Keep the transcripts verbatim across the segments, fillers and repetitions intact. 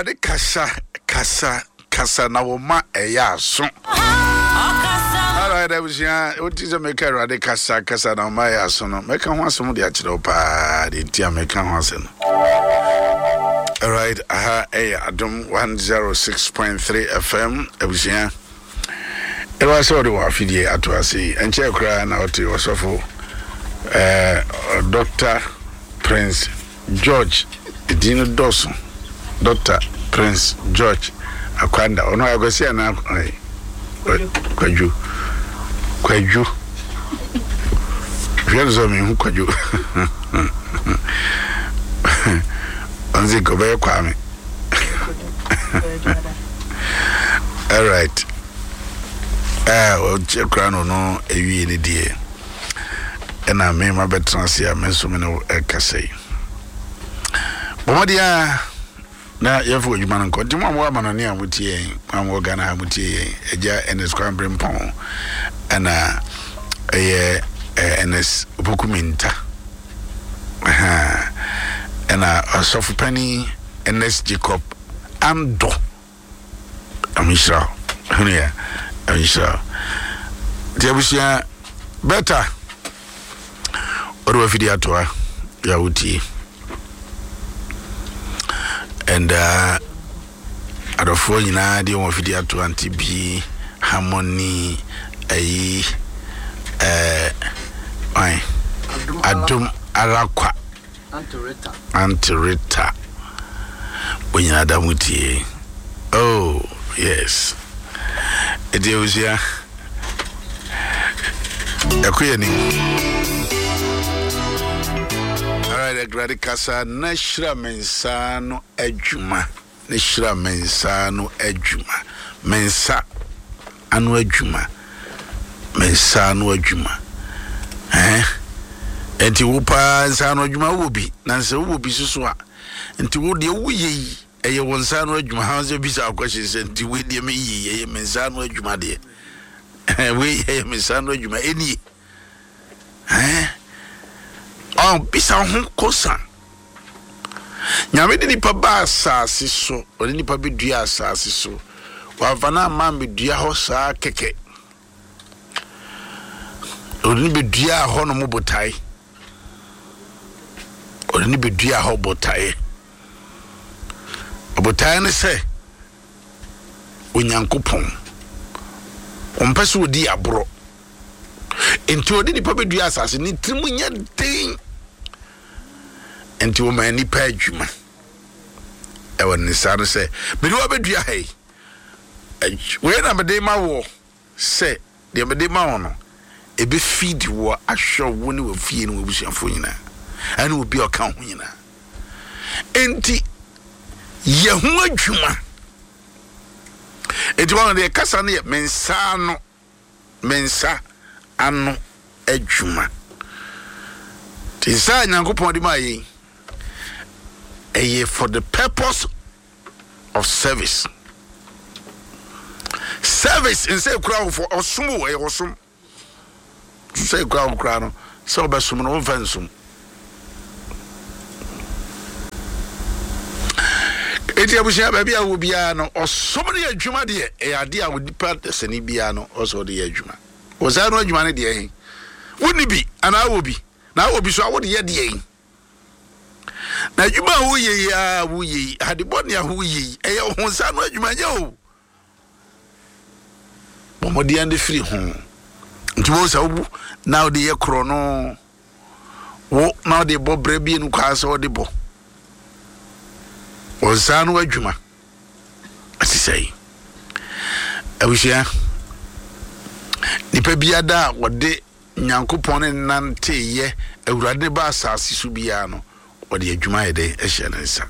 Awurade kasa, kasa, kasa na wo ma ɛyɛ aso. Alright, abusua, wote sɛ meka Awurade kasa, kasa na wo ma ɛyɛ aso no, mɛka ho asɛm de akyerɛ wo paa, deɛ nti a meka ho asɛm no. Alright, aha ɛyɛ Adom one oh six point three F M, abusua. Ɛwɔ sɛ wɔde wɔ afidie ato ase yi, ɛnkyɛɛ koraa na ɔte ɔsɔfo eh, Doctor Prince George, edin no dɔɔso, Doctor Prince George Akwanda, ɔno Akwasi anaa Kwadwo? Kwadwo, hwɛ no sɛ mehu Kwadwo, ɔno sɛ nka ɔbɛyɛ Kwame. Alright, ɔkyɛ koraa no ɔno awie ne deɛ, ɛna me ma bɛtena ase a me nso me ne ɛkasa yi. Bɔmmɔden a na yɛmfa adwuma no nkɔ. Nti mo a mowɔ amanɔne a motie yɛn, mo a mowɔ Ghana ha motie yɛn, agya Ernest Kwambre Mpɔn, ɛna ɛyɛ Ernest Opoku Minta, ɛna ɔsɔfo panin Ernest Jacob Ando, ɔmenhyira wo hunu yɛ, ɔmenhyira wo. Nti abusua bɛta wode wafidi atoa yɛ a wotie and uh, adɔfoɔ nyinaa deɛ wɔn afidi ato ante bi Harmony ayi ɛɛ ɔn Adom Arakwa, Aunty Rita, wɔn nyinaa da mo tie. Oh yes, ɛdi abusua ɛkɔ yɛ nim. Alright, Awurade kasa na hyira me nsa no adwuma, na hyira me nsa no adwuma, me nsa ano adwuma, me nsa ano adwuma. Ɛn nti wo paa nsa ano adwuma wowɔ bi, na nsɛ wowɔ bi soso a, nti wo deɛ woyɛ yi ɛyɛ wo nsa ano adwuma ha? Sɛ bisa akɔhyɛ sɛ nti wei deɛ meyɛ yi ɛyɛ me nsa ano adwuma deɛ, wei ɛyɛ me nsa ano adwuma ɛnie? Ɛn ɔn bisa ho kosa. Nyame de nipa ba asase so, ɔde nipa bɛdua asase so, wamfa no amma mbɛdua hɔ saa kɛkɛ. Ɔde no bɛdua hɔ nom botae, ɔde no bɛdua hɔ botaeɛ. Botaeɛ ne sɛ Onyankopɔn ɔmpɛ sɛ ɔdi aborɔ, nti ɔde nipa bɛdua asase ne tirim nyɛ den, nti wɔma nipa adwuma ɛwɔ ne nsa no sɛ mede wa bɛdua ha yi, wei na mede ma wɔ sɛ deɛ mede ma wɔ no ɛbɛfidi wɔ, ahwɛ wo ne wafie ne wabusuafoɔ nyinaa ɛne obi a ɔka ho nyinaa. Nti yɛ ho adwuma. Nti wɔn deɛ kasa no yɛ me nsa ano, me nsa ano adwuma. Nti nsa a Nyankopɔn de maa yɛn ɛyɛ for the purpose of service. Service nsa ekura wo for ɔsom o, ɛyɛ ɔsom. Nsa ekura wo kura no sɛ ɔbɛsom no, wɔmfa nsom. Eti abusua, baabi a wɔ biara no, ɔsom no yɛ adwuma deɛ, ɛyɛ adeɛ a onipa sani biara no ɔsɛ ɔde yɛ adwuma. Wɔsaa no adwuma no deɛ he wonni bi anaa wɔ bi na wɔ bi so a wode yɛ deɛ yi na adwuma a woyɛ yi a woyɛ yi, adebɔne a woyɛ yi, ɛyɛ wo ho nsa no adwuma nyɛ o. Bɔ mmɔden de firi ho. Nti wo sɛ wobu na wode yɛ korɔ no, wo na wode bɔ berɛ bienu kwaa sɛ wode bɔ wɔn nsa no adwuma ɛte sɛ yi. Abusua, nipa biada a wɔde Nyankopɔn ne nanteyɛ Awurade ne ba asase so biara no, wɔde adwuma yɛ dɛn ɛhyɛ ne nsa.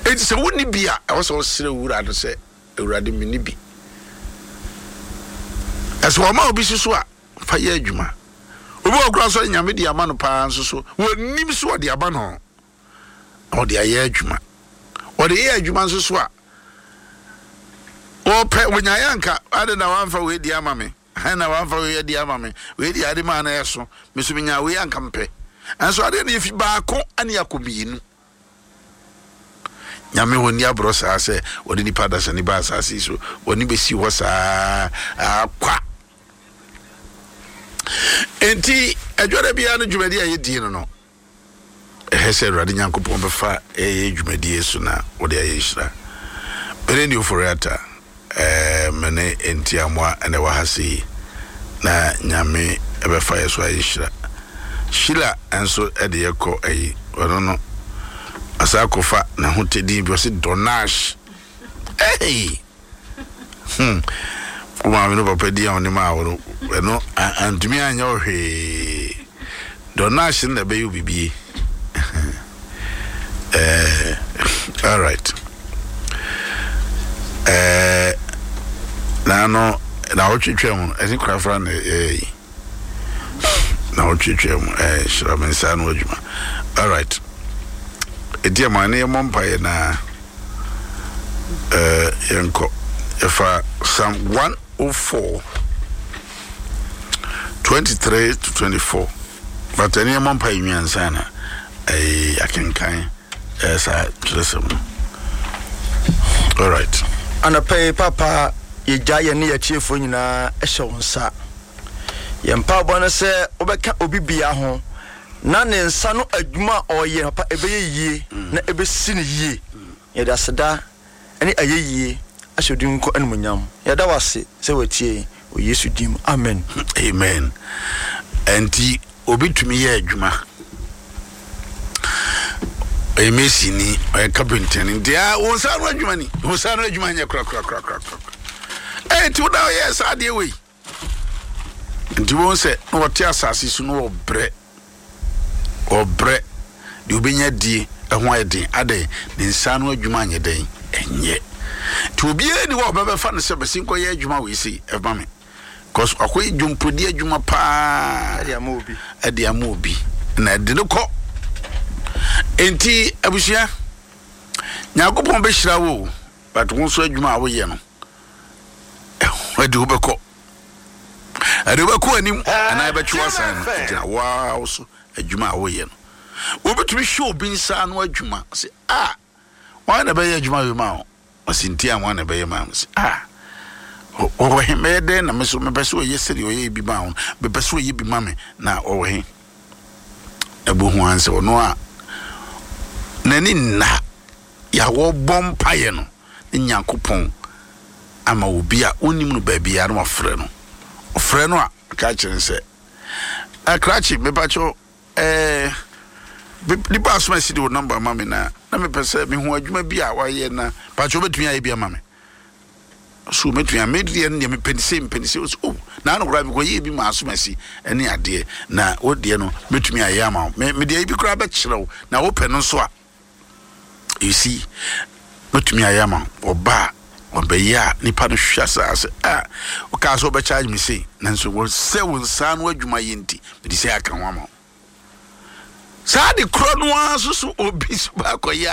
Enti sɛ wonni bi a, ɛwɔ sɛ wɔsrɛ wura no sɛ, "Awurade, menni bi." Ɛsɛ wɔma obi soso a fa yɛ adwuma. Obi wɔ kora sɛ Nyame de ama no paa nso so wɔnim so ɔde ama no na ɔde ayɛ adwuma. Ɔde yɛ adwuma nso so a wɔpɛ wɔnyaeɛ anka ade na wamfa wei di ama me na wamfa wei adi ama me, wei di ade maa no ɛso me so menya wei anka mpɛ. Ɛnso adeɛ no yɛfi baako ane akɔ mmienu. Nyame wɔnni aborɔ saa sɛ wɔde nipa adasani ba asase so, wɔne bɛsi hɔ saa akwa. Enti adwada biara no dwumadi a yɛdie no no ɛhɛ sɛ Awurade Nyankopɔn bɛfa ɛyɛ dwumadie so na wɔde ayɛ nhyira. Mene ne Ofori-Atta, ɛɛ mene Ntiamoa ɛna ɛwɔ ha sei, na Nyame ɛbɛfa yɛ so ayɛ nhyira. Sheila nso ɛde yɛ kɔ ɛyi ɔno no asa akɔfa ne ho tedin bi ɔsi Donash. Hey! Hmm. Wo maame no papa di a ɔne maa wo no ɛno antumi anyɛ wo hwee. Donash no na ɛbɛyɛ wo bibie. Eh, all right. Eh, na no na wotwetwe mu ɛne korafra na ɛyɛ yi na wotwetwe mu eh hyira me nsa no adwuma. All right. Eti ama ne yɛmmɔ mpaeɛ na eh yɛnkɔ yɛfa Psalm one oh four twenty-three to twenty-four. But ɛne yɛmmɔ mpaeɛ nwi ansa na eh akenkan eh saa kyerɛsɛm no. All right. Anɔpa yi papa yɛgya yɛn ne yɛtiefoɔ nyinaa hyɛ wo nsa. Yɛn mpaebɔ no sɛ wobɛka obi bia ho na ne nsa no adwuma a ɔyɛ papa ɛbɛyɛ yie na ɛbɛsi ne yie. Yɛde aseda ne ayɛ yie ahyɛ odi nko animuonyam. Yɛda wo ase sɛ watie wɔ Yesu din mu. Amen. Amen. Enti obi tumi yɛ adwuma. Ɔyɛ masoni, ɔyɛ carpenter ni. Nti a wo nsa ano adwuma ni. Wo nsa ano adwuma nyɛ kora kora kora kora kora. Eh, nti wo da ɔyɛ saa adeɛ wei. Nti wɔn sɛ na wɔte asase so na wɔbrɛ. Wɔbrɛ deɛ obɛnya die ɛho ayɛ den. Adɛn, ne nsa ano adwuma anyɛ dɛn ɛnyɛ. Nti obiara ni hɔ a ɔbɛbɛfa no sɛ bɛsi nkɔyɛ adwuma wei sei ɛma me. Because akɔyɛ dwompodi adwuma paa ɛde ama obi. Ɛde ama obi na ɛde no kɔ. Nti abusua, Nyankopɔn bɛhyira wo, but wo nso adwuma a woyɛ no ɛde wo bɛkɔ. Ɛde wo bɛkɔ anim anaa ɛbɛtwe w'asan no gyina waa wo so adwuma a woyɛ no. Wobɛtumi hwɛ obi nsa ano adwuma sɛ ah, wɔn na ɛbɛyɛ adwuma wei ma wo. Ɔsi nti a wɔn na ɛbɛyɛ ma wo sɛ ah, wɔwɔ he mɛyɛ dɛn na me so mepɛ sɛ ɔyɛ sɛdeɛ ɔyɛ bi ma wo, mepɛ sɛ ɔyɛ bi ma me na ɔwɔ he. Ɛbɔ hu ansɛ ɔno a n'ani nna yɛawɔ bɔ mpaeɛ no ne Nyankopɔn ama obi a ɔnnim no baabi a na wafrɛ no. Ɔfrɛ no a ɔka kyerɛ no sɛ akrakye mepakyɛw ɛɛ nipa asom asi de wo nɔmba ma me na na mepɛ sɛ mehu adwuma bi a wayɛ na pakyɛw wobɛtumi ayɛ bi ama me. So mɛtumi a medeɛ no deɛ mepɛ ne sei mepɛ ne sei. Ɔsɛ oh, na ano koraa mekɔyɛɛ bi ma asom asi ɛne adeɛ na wo deɛ no mɛtumi ayɛ ama wo. Me medeɛ bi koraa bɛkyerɛ wo na wopɛ no nso a you see mɛtumi ayɛ ama wo. Ɔba a ɔbɛyɛ a nipa no hwɛ saa sɛ ah, wokaa sɛ wobɛcharge me sei nanso wɔsɛ wo nsa no adwuma yɛ nti mede sɛ aka ho ama wo. Saa de korɔ no ara nso so obi so baakɔyɛ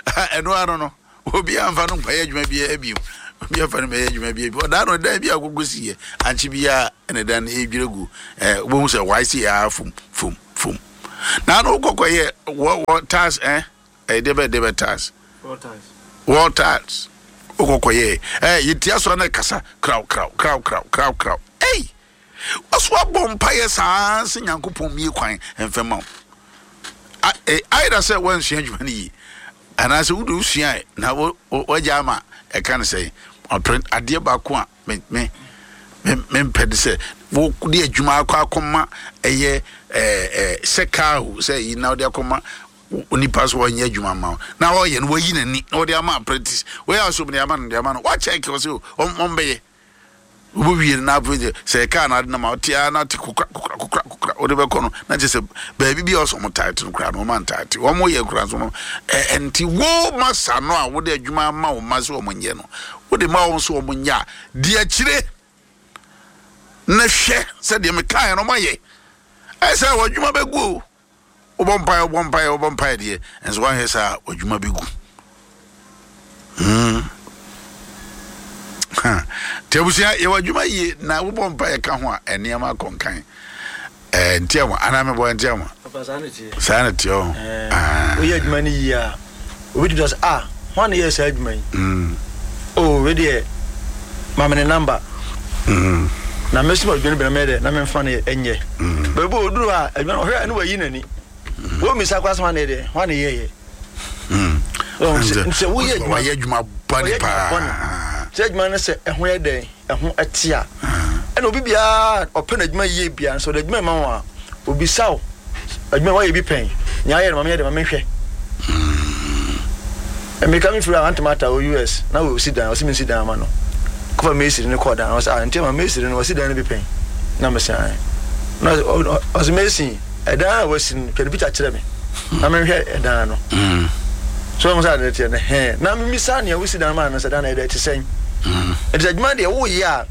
a ɛno ano no obi amfa no nkɔyɛ adwuma biara bio. Obi amfa no bɛyɛ adwuma biara bio. Ɔdaa no dan bi a agogo si yɛ ankye biara ɛna dan no edwira gu. Eh, wobɛhu sɛ wae si yɛ fom fom fom. Na ano wokɔkɔyɛ wɔ wɔ tiles eh ɛyɛ deɛ bɛ deɛ bɛ tiles. Wall tiles. Wokɔkɔyɛ eh yɛtia so na ɛkasa kraw kraw kraw kraw kraw kraw. Ei! Waso abɔ mpaeɛ saa sɛ Nyankopɔn mie kwan mfɛma wo. Ayɛ sɛ wansua adwuma no yie anaasɛ wode wosua na wagya ama ɛka no sɛ adeɛ baako a me me mempɛ de sɛ wode adwuma akɔ akɔma ɛyɛ sɛ kaa o sɛ yi na wode akɔma onipa so wɔnyɛ adwuma ma wo na ɔyɛ no wayi n'ani na wɔde ama apprentice wɔyɛ asom de ama no de ama no wakyɛke wɔ sɛ ɔmbɛyɛ wobɛwie no na afei deɛ sɛ ɛkaa no ade no ma wote a na te kokra kokra kokra kokra wode bɛkɔ no na kyerɛ sɛ baabi bi a ɔsɛ ɔmo taete no koraa no ɔma ntaete ɔmo yɛ koraa nso ɛnti wo ma sa no a wode adwuma ama wo ma sɛ ɔmo nyɛ no wode ma wɔn so ɔmo nyɛ a di akyire na hwɛ sɛdeɛ mekaeɛ no ɔmo ayɛ ɛsɛ sɛ w'adwuma bɛgu o. Wobɔ mpaeɛ wobɔ mpaeɛ wobɔ mpaeɛ deɛ nso woanhwɛ saa w'adwuma bɛgu. Hmm. Nti abusua yɛwɔ adwuma yie na wobɔ mpaeɛ ka ho a nneɛma akɔ nkan. Eh, nti ama anaa mebɔ nti ama. Papa saa na teɛ. Saa na teɛ o. Woyɛ adwuma no yie a obi tumi sɛ ah Hwan na yɛ saa adwuma yi? Oh, wei deɛ, ma me ne number na mɛsum adwuma no bi na mɛyɛ dɛ na memfa no ɛnyɛ. Baabi a ɔduru a adwuma no ɔhwɛ a ne wayi n'ani. Wɔmmisa koraa sɛ hwan na yɛ dɛ, hwan na yɛyɛ. Sɛ woyɛ adwuma, wayɛ adwuma bɔne paa. Sɛ adwuma no sɛ ɛho yɛ dɛn, ɛho ɛte a, ɛna obi biara ɔpɛ n'adwuma yie biara nso ɔde adwuma ma wɔn a, obisa wo adwuma wayɛ bi pɛn, nea ayɛ no ma meyɛ dɛ ma menhwɛ. Mmirika mi firi a antomata wɔ U S na wɔsi dan, ɔsi mi nsi dan ama no. Kɔfa masonry no kɔɔ dan, ɔsɛ ah, nti ma masonry no wɔsi dan no bi pɛn na mesan na ɔsɛ mason ɛdan a wɔsi no, twɛ ne picture kyerɛ me na menhwɛ ɛdan no. So wɔn sɛ ade teɛ no hɛn na mmisa nea wosi dan maa no sɛ dan na ɛdɛ te sɛn. Nti sɛ adwuma deɛ woyɛ a,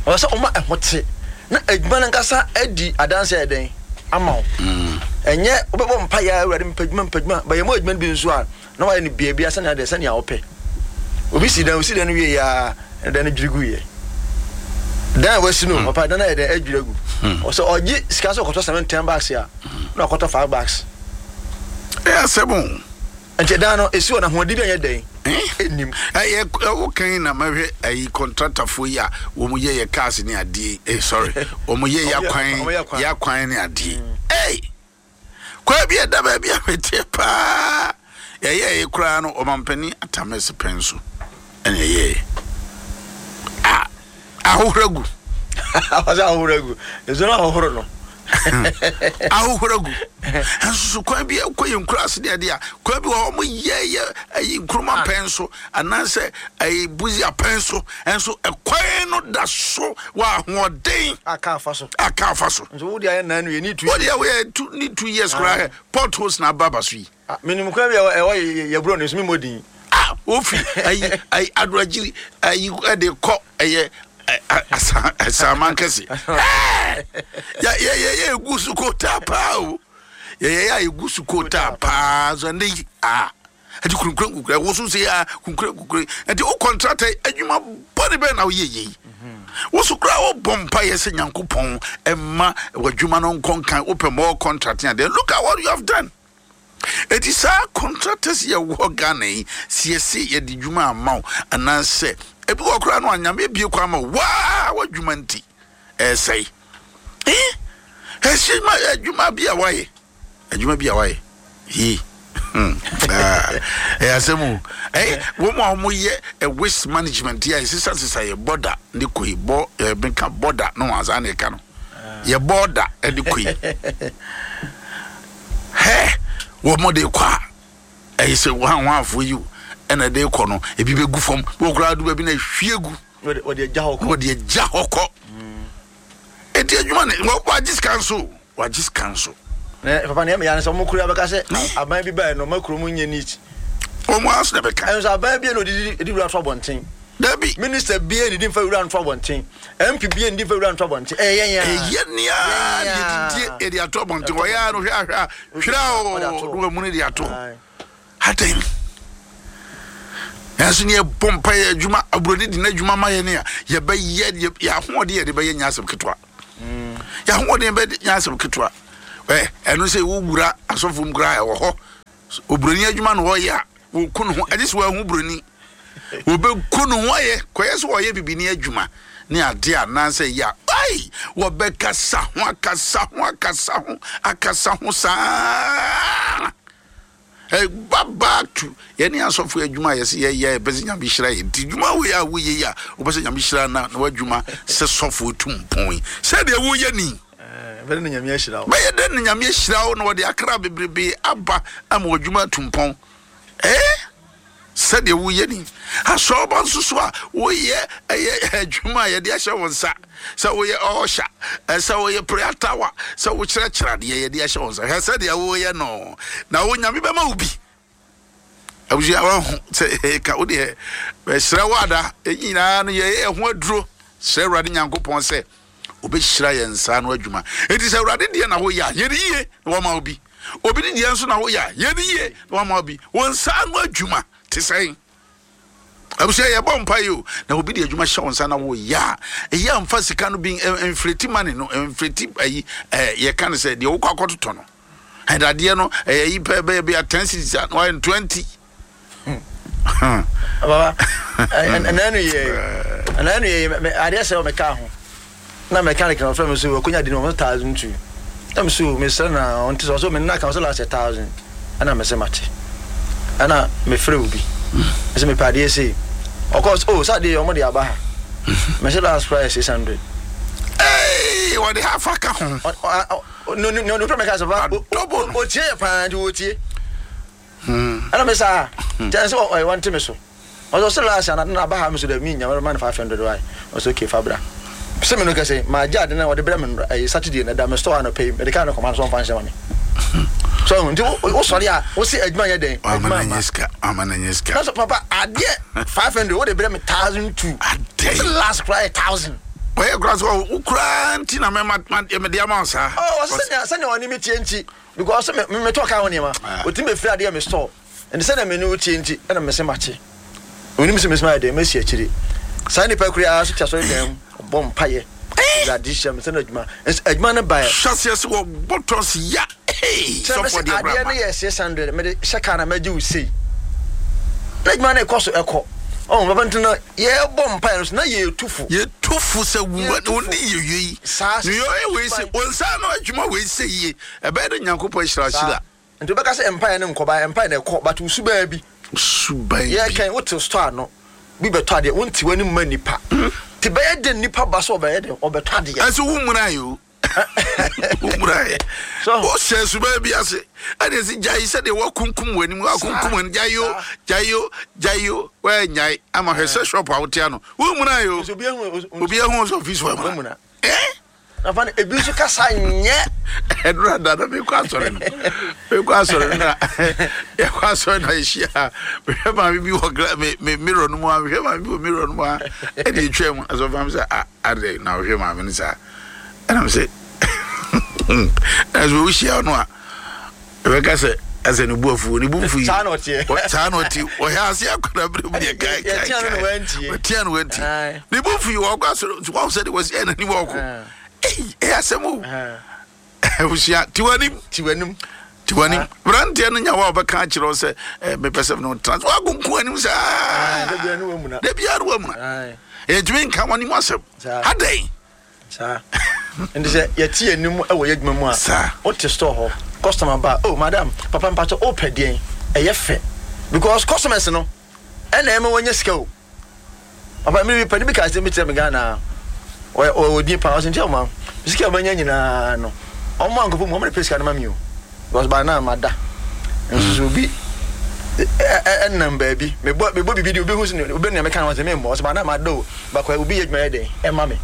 ɔsɛ sɛ ɔma ɛho te na adwuma no nkasa adi adanse ɛdɛn ama wo. Ɛnyɛ wobɛbɔ mpa yɛ, "Awurade, mepɛ adwuma, mepɛ adwuma," bɛyɛ mu adwuma no bi nso a na wayɛ no beebia sɛnea deɛ sɛnea wopɛ. Obi si dan, osi dan no wie yɛ a, dan no dwiri gu yɛ. Dan a wasi no papa, dan ayɛ dɛn adwiri agu. Ɔsɛ ɔgye sika sɛ ɔkɔtɔ seven ten bags a, na ɔkɔtɔ five bags. Ɛyɛ asɛm o. Nti dan no esi hɔ na ahoɔden bi anyɛ dɛn enim. Ɛyɛ ɛwo kan na mɛhwɛ ɛyi contractorfoɔ yi a wɔn yɛ yɛ cars ne adeɛ, eh sorry, wɔn yɛ yɛ akwan, yɛ akwan ne adeɛ. Ɛy, kwan bi ɛda baabi a mɛteɛ paa, yɛyɛ ɛyɛ koraa no, ɔmampanin atamɛsi pɛn so ɛna ɛyɛ a ahohora gu. Ɔsɛ ahohora gu, nsuo no ahohoro no. Ahohora gu nso so. Kwan bi kɔ yɛ nkura ase deɛ a, kwan bi wɔ hɔ, wɔn yɛ yɛ ɛyi Nkrumah pɛn so anaasɛ ɛyi Busia pɛn so nso, ɛkwan no da so wɔ ahoɔden. Aka afa so. Aka afa so. Nso wo de ayɛ nanu yɛ ni two. Wo de ayɛ two ni two years koraa, potholes na aba aba so yi. Minimu kwan bi a ɛwɔ yɛ buro ne so mi mo din. Ah, wofi ayi ayi Adoagyiri ayi ɛde kɔ ɛyɛ Asaman kɛse, yɛ yɛ yɛ yɛ egu so kota paa o, yɛ yɛ yɛ egu so kota paa so. Ɛnde yi a ɛti kunkun kunkun ɛwɔ so sɛ a kunkun kunkun, ɛti o contractor, adwuma bɔne bɛn na woyɛ yɛ yi? Woso koraa wobɔ mpa yɛ sɛ Nyankopɔn ɛma w'adwuma no nkɔ nkan, wopɛ more contract adeɛ. Look at what you have done. Eti saa contractors yɛ wɔ Ghana yi, siesie yɛde dwuma ama wo anaasɛ ebi wɔ koraa no anyame ebie kɔ ama wo waa w'adwuma nti ɛsɛe. Ee, ɛhyɛ ma adwuma bi a wayɛ, adwuma bi a wayɛ yi, ɛyɛ asɛm o. Ɛyɛ wɔn a wɔyɛ ɛ waste management yi a yɛsesa sesa yɛ border ne kɔ yi bɔ ɛ meka border no wɔn asa na ɛka no yɛ border ɛde kɔ yi hɛ, wɔn de kɔ a, ɛyɛ sɛ wɔn a wɔn afɔ yi o ɛna ɛde kɔ no, ebi bɛ gu fam, wɔn koraa do baabi na ehwie gu. Wɔde agya hɔ kɔ. Wɔde agya hɔ kɔ. Eti adwuma ne wagye sika nso, wagye sika nso. Na papa, nea meyɛ ne sɛ ɔmo kura bɛka sɛ aban bi bae no, ɔma kurom nyɛ neat. Wɔn aso na bɛka. Ɛnso aban bi na ɔde di wura to abɔnten. Dabi. Minister bia ne di nfa wura nto abɔnten, M P bia ne di nfa wura nto abɔnten, ɛyɛ yɛn a. Ɛyɛ nea yɛdidie yɛde ato abɔnten, wɔyɛ a no hwɛ ahwɛ a hwere a o ne wɔn mu no de ato adan. Nanso ne yɛbɔ mpa yɛ adwuma, aburoni di n'adwuma ma yɛ ne a yɛbɛyɛ yɛ ahoɔden yɛde bɛyɛ nyɛ asɛm ketewa. Yɛ ahoɔden bɛ nyɛ asɛm ketewa. Ɛ ɛno sɛ wowura asɔfo mu koraa, ɛwɔ hɔ, oburoni adwuma na ɔyɛ a, wɔku ne ho, ɛgye sɛ wɔahu buroni, wɔbɛku ne ho ayɛ kɔyɛ sɛ wɔyɛ bibini adwuma ne adeɛ anaasɛ yɛ a, ai, wɔbɛkasa ho, akasa ho, akasa ho, akasa ho saa. Ɛba back to yɛne asɔfo adwuma a yɛsɛ yɛyɛ, yɛpɛ sɛ Nyame hyira yɛ. Nti dwuma wei a woyɛ yi a wopɛ sɛ Nyame hyira na na w'adwuma sɛ sɔfo tu mpɔn yi, sɛdeɛ woyɛ ni, bɛyɛ na Nyame ahyira wo. Bɛyɛ dɛn na Nyame ahyira wo na wɔde akra bebrebe aba ama w'adwuma atu mpɔn? Ɛɛ, sɛdeɛ woyɛ ni, asɔrɔba nso so a woyɛ, ɛyɛ adwuma a yɛde ahyɛ wo nsa sɛ woyɛ ɔɔhyɛ, sɛ woyɛ prayer tower, sɛ wokyerɛkyerɛ adeɛ, yɛde ahyɛ wo nsa, hwɛ sɛdeɛ woyɛ no na wo Nyame bɛma wo bi. Abusua, wahu sɛ ɛka wo deɛ, bɛsrɛ wo ada, ɛyi nyinaa no yɛyɛ ɛho aduro. Srɛ Awurade Nyankopɔn sɛ obɛhyira yɛn nsa no adwuma. Enti sɛ Awurade deɛ na woyɛ a, yɛne yie na wama wo bi. Obi ne deɛ nso na woyɛ a, yɛne yie na wama wo bi. Wo nsa no adwuma te sɛn? Abusua, yɛbɔ mpa yi o, na obi de adwuma hyɛ wo nsa na woyɛ a, ɛyɛ a mfa sika no bi inflate money no, inflate ayi ɛɛ yɛka no sɛ deɛ wokɔ akɔtotɔ no ɛdadeɛ no, ɛyɛ yi pɛ bɛyɛ bi a ten cedis a, na wayɛ no twenty. Baba, ɛnɛ no yɛ ɛnɛ no yɛ adeɛ sɛ ɔmɛka ho na mechanic na ɔfrɛ me so ɔkɔnya di no ɔmo thousand two na me so mesrɛ na ɔnte sɛ ɔsɛ me nna ka ɔsɛ last thousand ɛna me sɛ mate ɛna mefrɛ obi mesɛ mepɛ adeɛ sei ɔkɔ oh sɛ adeɛ ɔmo de aba ha mesɛ last price six hundred. Ee, wɔde half aka ho. No no no no meka sɛ pa otie yɛ paa nti wɔtie ɛna me saa kyɛn sɛ ɔyɛ wɔnte me so ɔsɛ ɔsɛ last ana na aba ha me so dɛ mi nya ma no five hundred wae ɔsɛ okay fa bra sɛ me no kɛsɛ ma gye ade na wɔde brɛ me ɛyɛ Saturday na da me store anɔpɛ yi mede kaa no kɔma no so ɔmfa nhyɛ ma me so nti wo sɔre a wo se adwuma nyɛ dɛn adwuma ma sika ama na nyɛ sika na so papa adeɛ five hundred wo de brɛ me thousand two ade last kora yɛ thousand wɔyɛ kora so wo kora nti na mɛma mede ama wo saa ɔsɛ sɛnea sɛnea ɔne me tie nti because me me tɔ ka ho nneɛma otumi bɛfiri adeɛ me store nti sɛnea me ne wo tie nti ɛna me se makye onim sɛ mesoma yɛ dɛn mɛsi akyire saa nipa kura ara so te asɔre dan mu ɔbɔ mpayɛ Awurade hyɛ me sɛ no adwuma adwuma no baɛ hyɛseɛ sɛ wɔbɔ tɔs ya sɛ mɛsɛ adeɛ no yɛ six hundred mede hyɛ kaa na mɛgye wo sei na adwuma no ɛkɔ so ɛkɔ ɔn papa nti no yɛbɔ mpaeɛ no so na yɛtu fo yɛtu fo sɛ wo ne yɛwie yi yɛyɛ wei sɛ wo nsa no adwuma wei sɛ yie ɛbɛyɛ dɛ Nyankopɔn ahyira hyira nti wobɛka sɛ mpaeɛ no nkɔba mpaeɛ no ɛkɔ but wo subaa bi suban bi yɛkɛn wote store ano bi bɛtɔ adeɛ wonte w'anim ma nipa nti bɛyɛ den nipa ba so ɔbɛyɛ den ɔbɛtɔ adeɛ ɛsɛ wo mmura yi o wo mmura yɛ wohyɛ suban bi ase ɛne ɛsɛ gyae sɛdeɛ woakunkum w'anim woakunkum w'anim gyae o gyae o gyae o woanyae ama hwɛ sɛ shop a wote ano wo mmura yi o obi ahu sɛ office wɔ mmura nafa no ebi nso kasa nyɛ ɛdura da na mekɔ asɔre no mekɔ asɔre no na yɛkɔ asɔre na yɛhyia mehwɛ maame bi wɔ me me mirror no mu a mehwɛ maame bi wɔ mirror no mu a ɛde etwa mu asɔfo maame sɛ a adɛ na wohwɛ maame no saa ɛna me sɛ ɛna sɛ wohyia no a ɛbɛka sɛ ɛsɛ ne bu afuo ne bu mfu yi saa na ɔteɛ saa na ɔte ɔhɛ ase akɔda bere mu deɛ kae kae kae ɔtia no wantie ne bu mfu yi wɔkɔ asɔre wɔn sɛ de wɔsi ɛna ni wɔkɔ ɛyɛ asɛm o abusua tiwanim tiwanim tiwanim aberanteɛ no nya wo a wɔbɛka akyerɛ wo sɛ mepɛ sɛ no tena so woakonko anim saa da biara ne wamuna ɛntumi nka w'anim asɛm adɛn saa nti sɛ yɛte anim wɔ yɛ adwuma mu a wote store hɔ customer ba oh madam papa mpakyɛ wopɛ deɛn ɛyɛ fɛ because customers no ɛna ɛma wɔnyɛ sika o papa mi bi pani bi ka sɛ mi kyerɛ mi Ghana ɔyɛ ɔdi pa ɔsɛ nkyɛn ɔma sika ɔbɛnya nyinaa no ɔmo ankɔpɔ mu ɔmo de pɛ sika no ma mi o because by now ma da nso obi ɛnam baabi mebɔ mebɔ bibi di obi hu sɛ obi nea meka no ɔsɛ mi mbɔ ɔsɛ by now ma da o bakɔ obi yɛ adwuma yɛ dɛn ɛma mi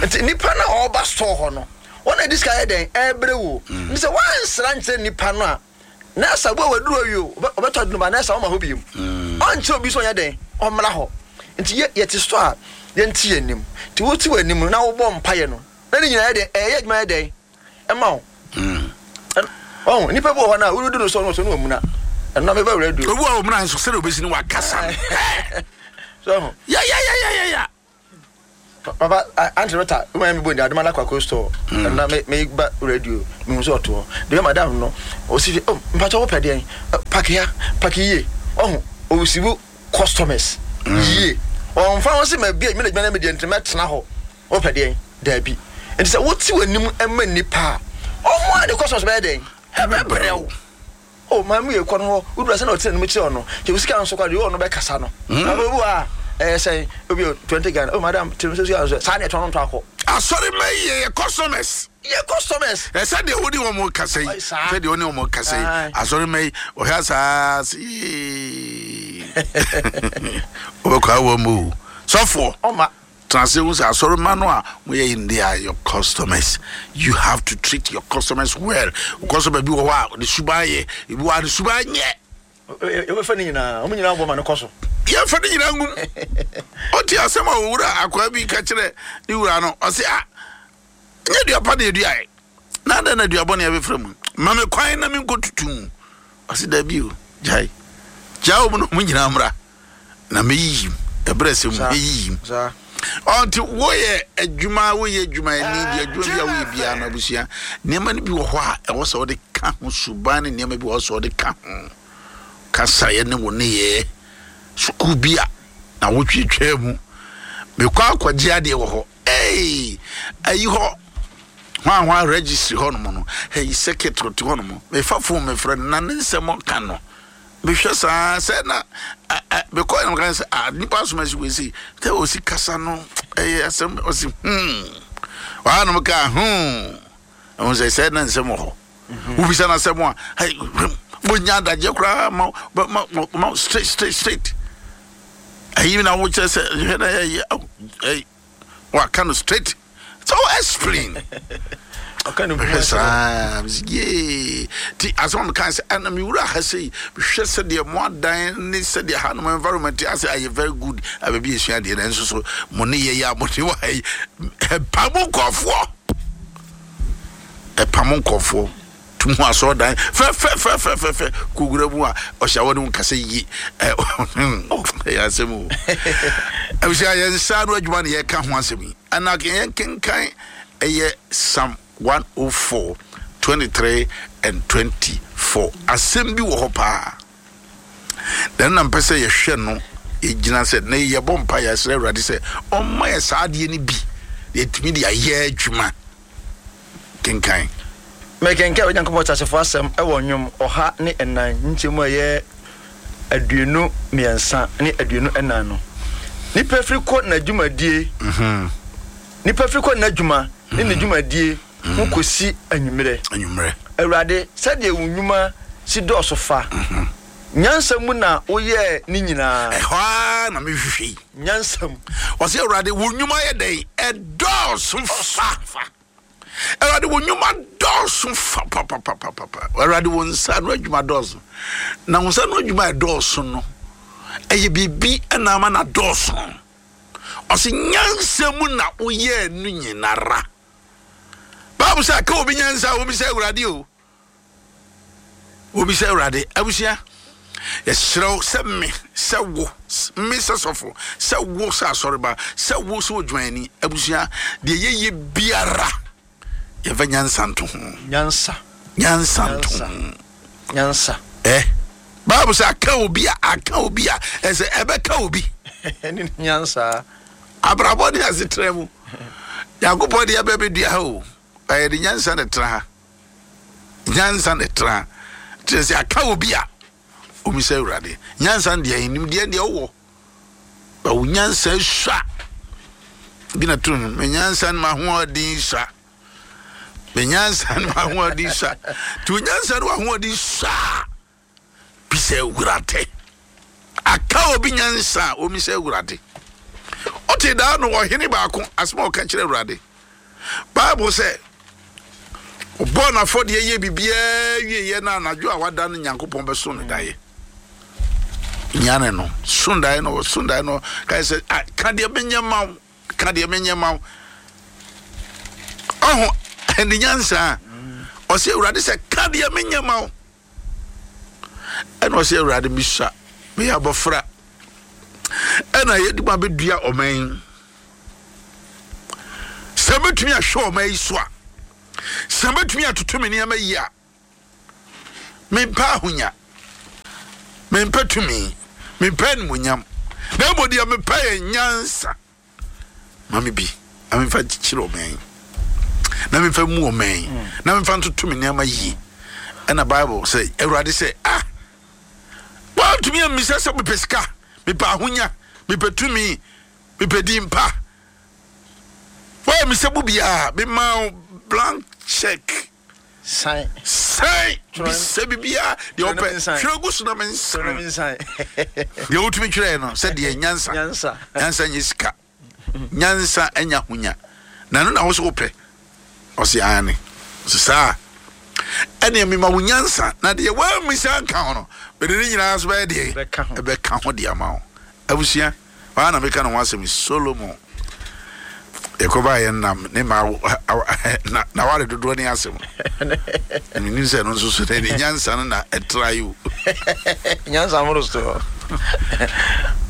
nti nipa na ɔba store hɔ no wɔn na di sika yɛ dɛn ɛbrɛ wo nti sɛ wɔansra nkyerɛ nipa no a na asa bo a waduru awie o ɔbɛtɔ adunu ba na asa ɔma hɔ bio ɔnkyerɛ obi so ɔnyɛ dɛn ɔmmra hɔ nti yɛ yɛte store a yɛnte yɛn anim nti wote wɔ anim na wobɔ mpaeɛ no na ne nyinaa yɛ dɛn ɛyɛ adwuma yɛ dɛn ɛma wo ɔho nipa bi wɔ hɔ no a woredu no so no so no wɔ muna ɛno na mebɛ wura du obi wɔ muna nso sɛdeɛ obɛsi no wakasa so ya ya ya ya ya ya papa auntie Rita wo ma mi bo ndi adoma na kwako store na me me ba radio me hu so ɔto de madam no o si oh mpacho wo pɛ deɛn pack ya pack yie ɔho o si wo customers yie ɔmfa ho sɛ ma bi me na adwuma na me deɛ nti mɛtena hɔ wo pɛ deɛn daabi nti sɛ wote w'anim ma nnipa a ɔmo a de customers bɛyɛ dɛn ɛbɛbrɛ wo oh maame yɛ kɔ no hɔ wodura sɛ na ɔtena anim kyerɛ ɔno kyɛ wo sika nso kwa deɛ ɔno bɛkasa no na obi wɔ a ɛyɛ sɛn obi twenty Ghana oh madam tiri sɛ sika nso saa ne ɛtɔn no ntɔ akɔ asɔre ma yɛ yɛ customers yɛ customers ɛsɛ deɛ wode wɔn kasa yi sɛ deɛ wone wɔn kasa yi asɔre ma yi ɔhwɛ saa see wobɛkɔ awɔ mu o sɔfoɔ ɔma translate hu sɛ asɔre ma no a moyɛ yi they are your customers. You have to treat your customers well. Customer bi wɔ hɔ a ne suban yɛ ebi wɔ a ne suban nyɛ yɛbɛfa ne nyinaa ɔmo nyinaa bɔ ma no kɔ so yɛmfa ne nyinaa ngum ɔte asɛm a owura akwaa bi ka kyerɛ ne wura no ɔse a nyɛ dua pa na yɛduaɛ na adɛn na dua bɔne abɛfra mu ma me kwan na menkɔtutu mu ɔse daabi o gyae gyaa wɔ mu na ɔmo nyinaa mmra na mɛyiyim ɛberɛ sɛ mu mɛyiyim ɔnti woyɛ adwuma woyɛ adwumayɛni bi adwuma bi a woyɛ biara no abusua nneɛma no bi wɔ hɔ a ɛwɔ sɛ wode ka ho suban ne nneɛma bi wɔ hɔ sɛ wode ka ho kasaeɛ ne wo nneyɛɛ Sukuu bi a na wotwitwaa mu mekɔ akɔgye adeɛ wɔ hɔ. Ei, ayi hɔ hwan hwan registry hɔ nom no, ɛyi secretary te hɔ nom. Mefa phone mefrɛ no na ne nsɛm ka no mehwɛ saa sɛ na mekɔ yɛn kan sɛ ah, nipa asoma si wei sei sɛ ɔsi kasa no ɛyɛ asɛm. Ɔsi hmm waa nom ka hmm ɛho sɛ sɛ na nsɛm wɔ hɔ. Wobisa no asɛm a, wonya adagyeɛ koraa ma ma ma straight straight straight. Ayi na wokyerɛ sɛ hwɛ na ɛyɛ ɛyi waka no straight, so explain. Mehwɛ saa yee ti asɛm a meka sɛ ɛna mewura ha sei, mehwɛ sɛdeɛ mo adan ne sɛdeɛ hanom environment asɛ ayɛ very good abaabi esua adeɛ, na nso so mo ne yɛ yɛ a mo ne wɔ ha yi, ɛpa mo nkɔfoɔ, ɛpa mo nkɔfoɔ tum ho. Asɔredan fɛfɛfɛfɛfɛ kogura mu a ɔhyɛ awɔ ne ho kasa yie. Ɛyɛ asɛm o. Abusua, yɛn nsa no adwuma ne yɛka ho asɛm yi, ɛna yɛn kenkan ɛyɛ Psalm one oh four twenty-three and twenty-four. Asɛm bi wɔ hɔ paa na ɛno na mpɛ sɛ yɛhwɛ no. Yɛgyina sɛ na yɛbɔ mpa, yɛsrɛ Awurade sɛ ɔmma yɛ saa adeɛ no bi na yɛtumi de ayɛ adwuma. Kenkan. Mekenkan Onyankopɔn teasefoɔ asɛm ɛwɔ Nnwom ɔha ne ɛnan nkyɛmu a ɛyɛ aduonu mmiɛnsa ne aduonu ɛnan no. Nipa firi kɔ n'adwumadie, nipa firi kɔ n'adwuma ne ne dwumadie ho kɔsi anwummerɛ. Anwummerɛ. Awurade, sɛdeɛ wo nnwuma si dɔɔso fa! Nyansa mu na woyɛɛ ne nyinaa. Ɛhɔ ara na mehwehwɛ yi. Nyansa mu. Ɔsɛ Awurade, wo nnwuma yɛ dɛn? Ɛdɔɔso fa. Awurade, wo nnwuma dɔɔso fa papapapapa. Awurade, wo nsa no adwuma dɔɔso, na wo nsa no adwuma ɛdɔɔso no ɛyɛ biribi ɛna ama na dɔɔso. Ɔsɛ nyansa mu na woyɛɛ no nyinara. Baabu sɛ aka obi nyansa a, obi sɛ Awurade o, obi sɛ Awurade. Abusua, yɛserɛw sɛ me sɛ wo, me sɛ sɔfo, sɛ wo sɛ asɔreba, sɛ wo sɛ odwumayɛni, abusua, deɛ yɛyɛ biara yɛmfa nyansa nto ho. Nyansa. Nyansa nto ho. Nyansa. Ɛ baabu sɛ aka obi a, aka obi a, ɛsɛ ɛbɛka obi. Ne nyansa. Abrabɔ ne asetena mu, Nyankopɔn de yɛbɛ bɛdua ha o, ɛyɛ de nyansa na ɛtena ha, nyansa na ɛtena ha. Kyerɛ sɛ aka obi a, omi sɛ Awurade nyansa no deɛ, nimdeɛ deɛ wowɔ ba, wo nyansa sua bi na to no. Me nyansa no ma ahoɔden sua, me nyansa no ma ahoɔden sua. Nti wo nyansa no ahoɔden sua bi sɛ Awurade. Aka obi nyansa a, omi sɛ Awurade. Ɔte daa no ɔhene baako asɛm a ɔka kyerɛ Awurade, Bible sɛ ɔbɔɔ n'afɔdeɛ yɛ biribiara wieɛ na anadwo a wada no, Nyankopɔn bɛso no daeɛ, nyane no so daeɛ no, ɔso daeɛ no kae sɛ, "Ah, ka deɛ menyɛ ma wo, ka deɛ menyɛ ma wo." Ɔho ɛne nyansa a ɔsɛ Awurade sɛ, "Ka deɛ menyɛ ma wo." Ɛna ɔsɛ, "Awurade, mesua, meyɛ abɔfra ɛna yɛde ma bɛdua ɔman yi. Sɛ mɛtumi ahwɛ ɔman yi so a, sɛ mɛtumi atoto me nneɛma yi a, mempɛ ahonya, mempɛ tumi, mempɛ animonyam, na mmom deɛ mepɛ yɛ nyansa. Ma me bi na memfa nkyekyere ɔman yi, na memfa mu ɔman yi, na memfa ntoto me nneɛma yie." Ɛna Bible sɛ Awurade sɛ, "Ah, woantumi ammisa sɛ mepɛ sika, mepɛ ahonya, mepɛ tumi, mepɛ din pa. Woammisa mu biaa, mema wo blank check." San. Sɛn. Twerɛ- Bisa biribiaa deɛ Twerɛ na wopɛ. mensan. Twerɛ gu so na Twerɛ na mensan. mensan. Deɛ wotumi twerɛɛ no sɛ deɛ nyansa. Nyansa. Nyansa nyɛ sika, nyansa anya ahonya, na ɛno na wo so wopɛ. Ɔse ane. Ɔse saa ɛneɛ mema wo nyansa, na deɛ woammisa nka ho no, mede ne nyinaa so bɛyɛ deɛ Bɛka ho. ɛbɛka ho de ama wo. Abusua, waa na meka ne ho asɛm yi, Solomon yɛkɔbaa yɛn nam ne ma na na ware dodoɔ ne asɛm. Menim sɛ ɛno nso so ne nyansa no na ɛtra yi o. Nyansa moro so.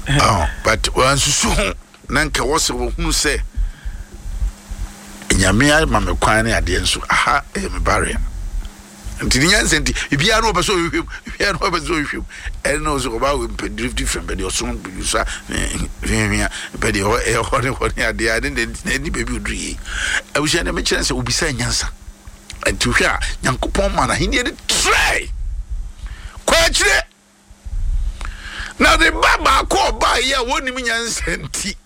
Oh, but wansusu ho na nka wɔ sɛ wɔhunu sɛ Nyame ama me kwan ne adeɛ nso aha ɛyɛ me barrier. Nti ne nyansa nti biribiara na ɔpɛ sɛ ɔhwehwɛ mu, biribiara na ɔpɛ sɛ ɔhwehwɛ mu. Ɛna ɔsɛ ɔbaa wɔ mpɛ drift different, mpɛ deɛ ɔso sa hwehwea, mpɛ deɛ ɛhɔ ne hɔ ne adeɛ a ne ne baabi oduru yie. Abusua, deɛ mekyerɛ sɛ obisa nyansa. Nti hwɛ a, Nyankopɔn ma n'ahenni de trɛ kɔ akyire, na ne ba baako ɔbaa yi a wɔnim nyansa nti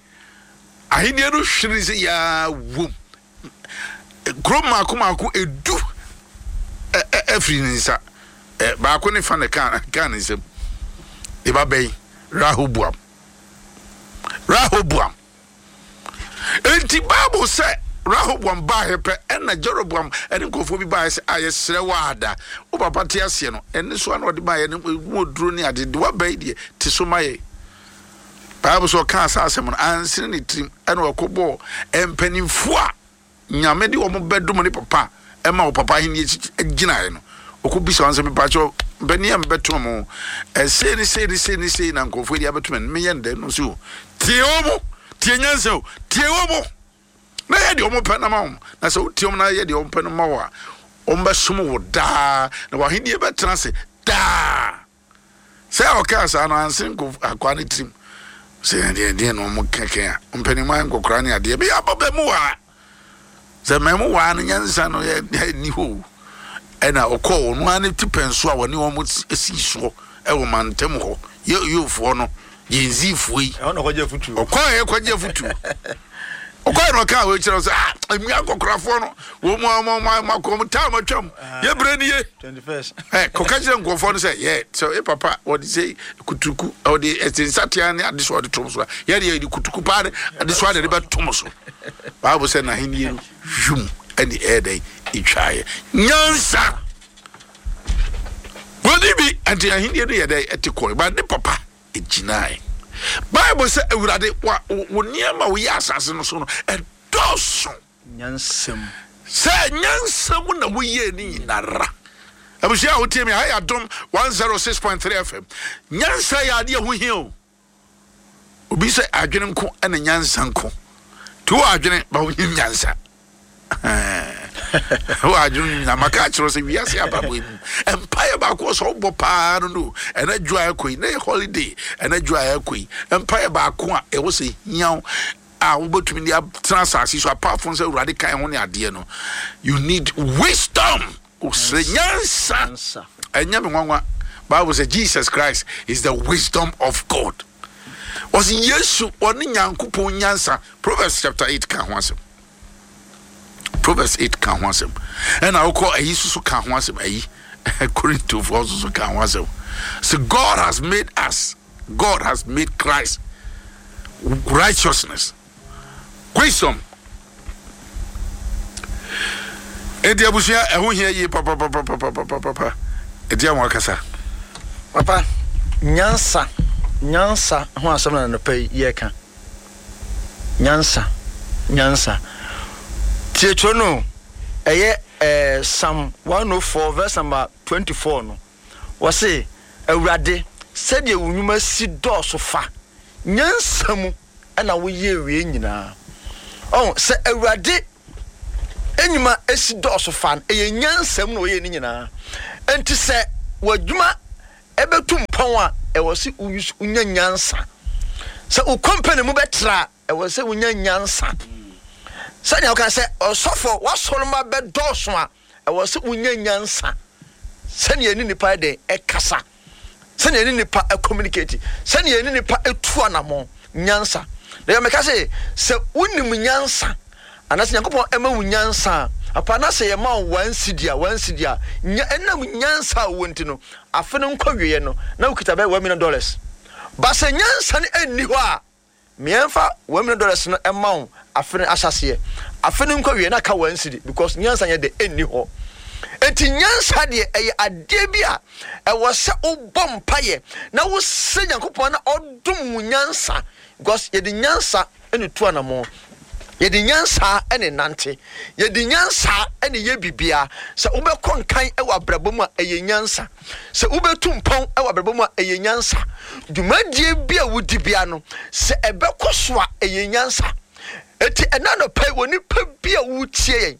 ahenni no hwere sɛ yaa wom kuro mmaako mmaako edu ɛfiri ne nsa, baako ne fa ne kaa kaa ne nsam. Ne ba bɛyi Rehoboam. Rehoboam nti Bible sɛ Rehoboam baayɛ pɛ, ɛna Jeroboam ɛne nkurɔfoɔ bi baayɛ sɛ a yɛsrɛ wɔ ada wo papa te aseɛ no, ɛne so ana ɔde baayɛ no mu oduro ne ade de waba yi deɛ te so ma yɛ. Bible sɛ ɔkaa saa asɛm no ansene ne tirim, ɛna ɔkɔbɔɔ mpanimfoɔ a Nyame de wɔn bɛdom ne papa ɛma wɔ papa ahenni gyinaeɛ no. Ɔkɔbisa wɔn sɛ, mepakyɛw, mpanin a mebɛto mo ɛsei ne sei ne sei ne sei na nkurɔfoɔ yi de abɛto me, meyɛ no dɛn no? So tie wɔ mo, tie nyansa o, tie wɔ mo na yɛ deɛ wɔn pɛ no ma wɔn. Na sɛ wotie wɔn na yɛ deɛ wɔn pɛ no ma wɔ a, wɔn bɛsom wo daa na w'ahenni bɛtena ase daa. Sɛ ɔkaa saa no anse nko akoa ne tirim sɛ deɛ deɛ na wɔn kɛkɛ a mpanimmaa nkɔkora ne adeɛ bi abɔ bɛ mu waa sɛ mɛmu waa no nyansa no yɛ ni hɔ. Ɛna ɔkɔɔ ɔno ara ne ti pɛn so a wɔne wɔn si soɔ ɛwɔ mantam hɔ yɛ yofoɔ no yɛnzifoɔ yi. Ɛhɔ na ɔkɔgye afutuo. Ɔkɔɔ yɛ kɔgye afutuo. Ɔkɔɔ na ɔkaa wɔ kyerɛ sɛ ah, mmea nkɔkorafoɔ no wɔn mu a wɔn wɔn akɔ wɔn taa wɔn atwam yɛ brɛ ni ye. Twenty first. Ɛ kɔka kyerɛ nkurɔfoɔ no sɛ yɛ sɛ ɛ papa wɔde sɛ kutuku ɔde ɛsɛ nsatea ne adesoa ɔde tom so a, yɛ deɛ yɛde kutuku paa ne adesoa na yɛde bɛtom so. Baabu sɛ n'ahenni no hwum ɛne ɛyɛ dɛ etwaeɛ nyansa wɔde bi nti ahenni no yɛ dɛ ɛte kɔɛ ba ne papa egyinae. Bible sɛ, Awurade, wa wo nneɛma a woyɛ asase no so no ɛdɔɔso. Nyansam. Sɛ nyansa mu na woyɛ ne nyinara. Abusua a wotie mi ha yɛ Adom one oh six point three F M. Nyansa yɛ adeɛ ho hia o. Obi sɛ adwene nko ɛna nyansa nko nti wɔ adwene ba wonyim nyansa wɔ adwene nyina maka akyerɛ sɛ wiase abrabɔ yi mu mpaeɛ baako sɛ wobɔ paa no no ɛna dwo a ɛkɔ yi na yɛ holiday, ɛna dwo a ɛkɔ yi, mpaeɛ baako a ɛwɔ sɛ hia wo a wobɛtumi de atena asase so, apart from sɛ Awurade kan ho ne adeɛ no, you need wisdom, wosrɛ nyansa. Nyansa. Ɛnyɛ me nwanwa, Bible sɛ Jesus Christ is the wisdom of God. Ɔsɛ Yesu ɔne Nyankopɔn nyansa. Proverbs chapter eight ka ho asɛm. Proverbs eight ka ho asɛm, ɛna wokɔ ayi soso ka ho asɛm, ayi Korintofoɔ soso ka ho asɛm so. God has made us, God has made Christ righteousness, wisdom. Enti abusua, ɛho hia yie papapapapapapa. Ɛdi a wɔn akasa. Papa, nyansa, nyansa ho asɛm na nɔpɛ yi yɛreka. Nyansa, nyansa. Tie twerɛ no, ɛyɛ ɛɛ Psalm one oh four verse number twenty four no. Wɔse, Awurade, sɛdeɛ wo nnwuma si dɔɔso fa, nyansa mu ɛna woyɛ wie nyinaa. Ɔn sɛ Awurade enyuma esi dɔɔso fa no, ɛyɛ nyansa mu na wɔyɛ ne nyinaa. Nti sɛ w'adwuma ɛbɛtu mpɔn a, ɛwɔ sɛ wonya nyansa. Sɛ wo company mu bɛtra a, ɛwɔ sɛ wonya nyansa. Sɛnea woka sɛ ɔsɔfo w'asɔrɔma bɛdɔɔso a, ɛwɔ sɛ wonya nyansa sɛnea ɛne nipa yɛ den ɛkasa, sɛnea ɛne nipa communicate, sɛnea ɛne nipa etu anammɔn. Nyansa na yɛ mɛka sɛ sɛ wonim nyansa anaasɛ Nyankopɔn ɛma wo nyansa a, apa na sɛ yɛma wo one cedi a, one cedi a nya ɛnam nyansa a wowɔ nti no, afe no nkɔ wieɛ no na wokita bɛyɛ one million dollars. Ba sɛ nyansa no ɛnni hɔ a, mmiɛnfa one million dollars no ɛma wo afe no ahyɛseɛ, afe no nkɔ wie na ka one cedi, because nyansa yɛ de ɛnni hɔ. Eti nyansa deɛ, ɛyɛ adeɛ bi a ɛwɔ sɛ wobɔ mpayɛ na wosɛ Nyankopɔn na ɔdom wo nyansa, because yɛde nyansa ɛne tu anammɔn, yɛde nyansa ɛne nante, yɛde nyansa ɛne yɛ bibia. Sɛ wobɛkɔ nkan ɛwɔ abrabɔ mu a, ɛyɛ nyansa. Sɛ wobɛtu mpɔn ɛwɔ abrabɔ mu a, ɛyɛ nyansa. Dwumadie bi a wodi bia no, sɛ ɛbɛkɔ so a, ɛyɛ nyansa. Eti ɛna nɔpɛ wɔ nipa bi a wotie yɛn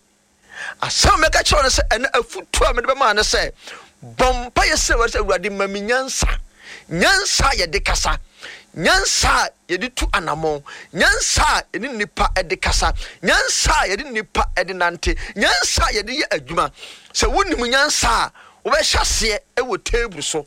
Asɛm a mɛka kyerɛ wo ne sɛ, ɛnɛ afotuo a mede bɛma ne sɛ, bɔ mpaeɛ srɛ Awurade sɛ, Awurade ma me nyansa. Nyansa a yɛde kasa, nyansa a yɛde tu anammɔn, nyansa a yɛne nnipa de kasa, nyansa a yɛde nnipa de nante, nyansa a yɛde yɛ adwuma. Sɛ wonim nyansa a, wobɛhyɛ aseɛ wɔ table so.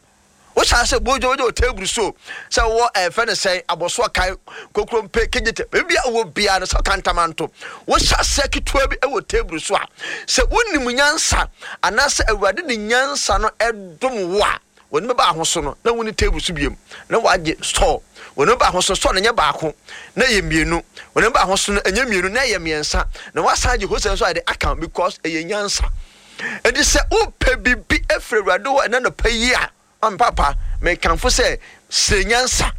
Wohyɛ ase bɔ dwuma wɔ table so sɛ wɔ ɛfɛ ne sɛn abɔsoɔ kan kokrompe kegyete baabi a wɔ biara no sɛ kantamanto. Wohyɛ aseɛ ketewa bi wɔ table so a, sɛ wonim nyansa anaasɛ Awurade de nyansa no ɛdom wo a, wɔn bɛba ahoso no na woni table so biem na wagye store. Wɔn bɛba ahoso store no nyɛ baako na ɛyɛ mmienu. Wɔn bɛba ahoso no ɛnyɛ mmienu na ɛyɛ mmiɛnsa, na wasan agye hosɛ nso ayɛ de aka because ɛyɛ nyansa. Enti sɛ wopɛ biribi afiri Awurade hɔ ɛna nɔpa yi a, papa mekamfo sɛ srɛ nyansa.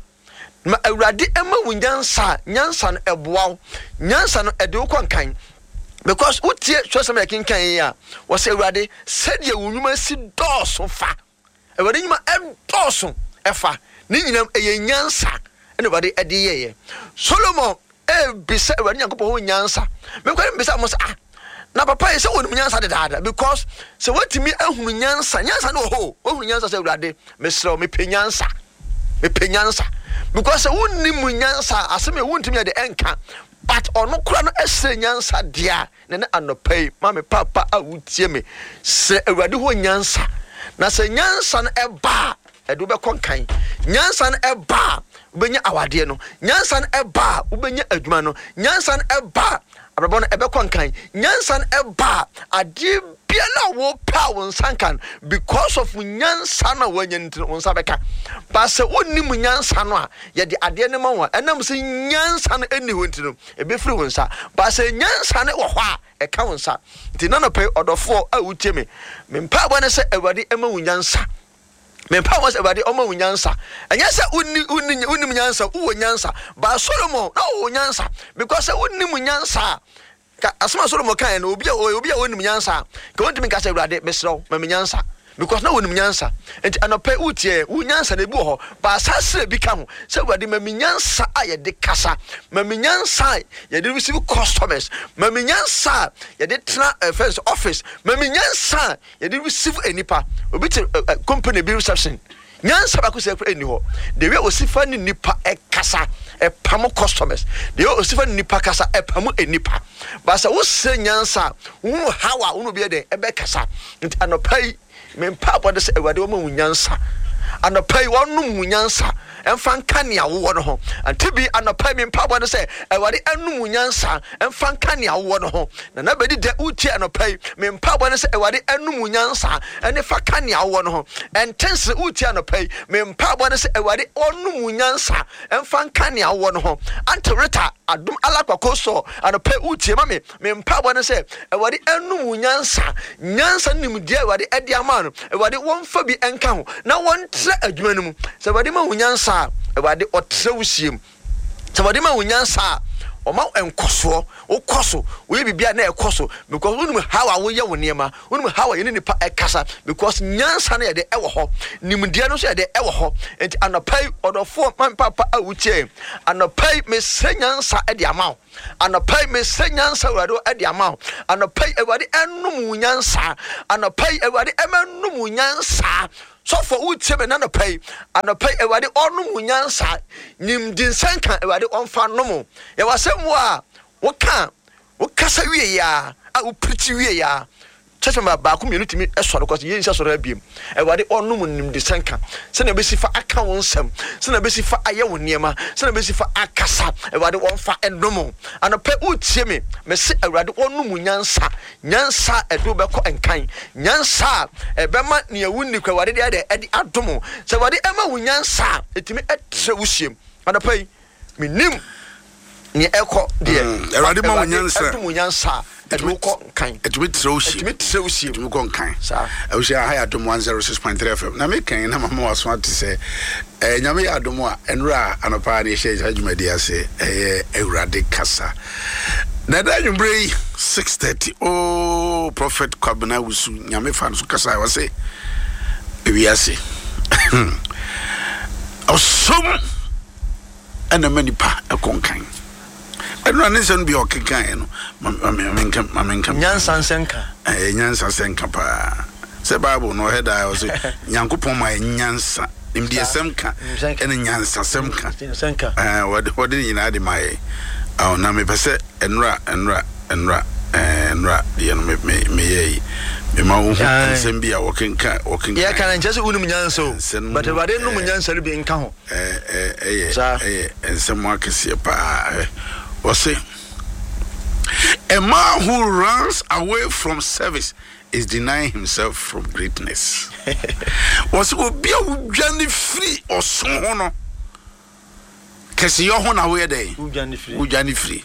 Ma Awurade ɛma wo nyansa a, nyansa no ɛboa wo. Nyansa no ɛde wo kɔ nkan. Because wotie twerɛsɛm a yɛkenkan yi a, wɔsɛ Awurade sɛdeɛ wo nnwuma si dɔɔso fa. Awurade nnwuma ɛdɔɔso ɛfa. Ne nyinam ɛyɛ nyansa ɛna Awurade ɛde yɛyɛ. Solomon ɛbisa Awurade Nyankopɔn ho nyansa. Mekɔ mbisa mo sɛ, ah, na papa yi sɛ wɔnim nyansa dedaada, because sɛ wɔatumi ahunu nyansa, nyansa no wɔ hɔ o, wɔahunu nyansa sɛ Awurade mesrɛ wo mepɛ nyansa, mepɛ nyansa, because sɛ wonnim nyansa asɛm yɛ wontumi yɛ de ɛnka, but ɔno kora no ɛsrɛ nyansa deɛ a, na ne anɔpa yi ma me papa a wotie me, srɛ Awurade hɔ nyansa. Na sɛ nyansa no ɛba a, ɛde wobɛkɔ nkan. Nyansa no ɛba a, wobɛnya awadeɛ no. Nyansa no ɛba a, wobɛnya adwuma no. Nyansa no ɛba a, abrabɔ no ɛbɛkɔ nkan. Nyansa no ɛba a, adeɛ biara a wopɛ a wo nsa nka no, because of nyansa no a woanya no nti no, wo nsa bɛka. But sɛ wonnim nyansa no a, yɛde adeɛ no ma wo a, ɛnam sɛ nyansa no ɛnni hɔ nti no, ɛbɛfiri wo nsa. But sɛ nyansa no wɔ hɔ a, ɛka wo nsa. Nti na nɔpɛ ɔdɔfoɔ a wotie me, me mpaebɔ ne sɛ Awurade ɛma wo nyansa. Me mpaebɔ sɛ Awurade ɔma wo nyansa. Ɛnyɛ sɛ wonni wonni wonnim nyansa, wowɔ nyansa. But Solomon na ɔwɔ nyansa, because sɛ wonnim nyansa a, ka asɛm a Solomon kaeɛ no, obi a obi a ɔnnim nyansa a, ka wɔntumi nka sɛ Awurade mesrɛ wo ma me nyansa, because na wɔnim nyansa. Nti anɔpɛ wotie, wo nyansa na ebi wɔ hɔ, but asase bi ka ho sɛ Awurade ma me nyansa a yɛde kasa, ma me nyansa a yɛde receive customers, ma me nyansa a yɛde tena ɛfɛn sɛ office, ma me nyansa a yɛde receive nipa. Obi te company bi reception, nyansa baako sɛ ɛkora ɛnni hɔ. The way osifa ne nipa ɛkasa ɛpam customers, the way osifa ne nipa kasa ɛpam nipa. But sɛ wosrɛ nyansa a, wohunu how a wohunu bi yɛ dɛn ɛbɛkasa. Nti anɔpa yi me mpaebɔ de sɛ Awurade wɔma wo nyansa. Anɔpa yi wɔnom wo nyansa ɛmfa nka nea wowɔ no ho. Ante bi anɔpa yi me mpaebɔ de sɛ Awurade ɛnom wo nyansa ɛmfa nka nea wowɔ no ho. Na na bɛdi dɛ wotie anɔpa yi me mpaebɔ ne sɛ Awurade ɛnom wo nyansa ɛne fa ka nea wowɔ no ho. Ɛntensere wotie anɔpa yi me mpaebɔ ne sɛ Awurade ɔnom wo nyansa ɛmfa nka nea wowɔ no ho. Ante Rita adom alakwako sɔ anɔpa yi wotie ma me, me mpaebɔ ne sɛ Awurade ɛnom wo nyansa. Nyansa nimdeɛ Awurade ɛde ama no, Awurade wɔmfa bi ɛnka ho na wɔntrɛ adwuma no mu. Sɛ Awurade ma wo nyansa a, Awurade ɔtrɛ wo sie mu. Sɛ Awurade ma wo nyansa a, ɔma wo nkɔsoɔ, wokɔ so, woyɛ biribi a na ɛkɔ so, because wonim how a woyɛ wo nneɛma, wonim how a yɛne nipa ɛkasa, because nyansa no yɛde ɛwɔ hɔ, nimdeɛ no nso yɛde ɛwɔ hɔ. Nti anɔpa yi ɔdɔfoɔ ma me papa a wotie, anɔpa yi mesrɛ nyansa ɛde ama wo. Anɔpa yi mesrɛ nyansa Awurade ɛde ama wo. Anɔpa yi Awurade ɛnom wo nyansa. Anɔpa yi Awurade ɛmɛnom wo nyansa. Sɔfo wotie me nanɔpa yi, anɔpa yi Awurade ɔnom wo nyansa. Nimdi nsɛnka Awurade ɔmfa nom wo. Yɛwɔ asɛm mu a woka, wokasa wie ya a, wopirikyi wie ya, church member baako mmienu tumi sɔre kɔ sɛ yɛnsi asɔre abiem. Awurade ɔnom nimdi sɛnka sɛnea ɛbɛsi fa aka wo nsɛm, sɛnea ɛbɛsi fa ayɛ wo nneɛma, sɛnea ɛbɛsi fa akasa, Awurade ɔmfa ɛnom wo. Anɔpa wotie me, mese Awurade ɔnom wo nyansa. Nyansa a ɛde wo bɛkɔ nkan, nyansa a ɛbɛma nea wonni kɔ Awurade de ayɛ dɛ ɛde adom wo. Sɛ Awurade ɛma wo nyansa a, ɛtumi ɛtrɛ wo siem. Anɔpa yi menim nea ɛkɔ deɛ, Awurade ma wo nyansa, ɛdom wo nyansa a ɛde wo kɔ nkan, ɛtumi trɛ wo sie, ɛtumi trɛ wo sie, ɛtumi kɔ nkan. Saa abusua ha yɛ Adom one zero six point three F M na meka na mama waso ate sɛ ɛɛ Nyame yɛ adom a ɛnora anɔpa na yɛhyɛ saa dwumadi ase, ɛyɛ Awurade kasa. Na ɛda anwummerɛ yi six thirty oh Prophet Kwabena Wusu Nyame fa no so kasa a wɔse ewiase ɔsom ɛna ma nipa ɛkɔ nkan. Ɛno a ne nsɛm bi a ɔkekaeɛ no, ma menka ma menka. Nyansa nsɛnka. Ɛyɛ nyansa sɛnka paa. Sɛ Bible no ɔhɛ daa ɔsɛ Nyankopɔn ma yɛ nyansa. Nimdeɛsɛm ka ɛne nyansasɛm ka. Ɛɛ wɔde wɔde ne nyinaa de ma yɛ. Awo na mepɛ sɛ ɛnora ɛnora ɛnora ɛɛ ɛnora deɛ no me me meyɛ yi. Mema wo hu nsɛm bi a wɔkenka wɔkenka. Yɛ kan nkyɛ sɛ wonim nyansa o. But Awurade nom nyansa no bi nka ho. Ɛɛ ɛyɛ ɛyɛ nsɛm akɛseɛ paa. Wɔse a man who runs away from service is denying himself from greatness. Wɔse obi a wodwane firi ɔsom ho no, kɛseyɛ ho na woyɛ dɛn? Wodwane firi.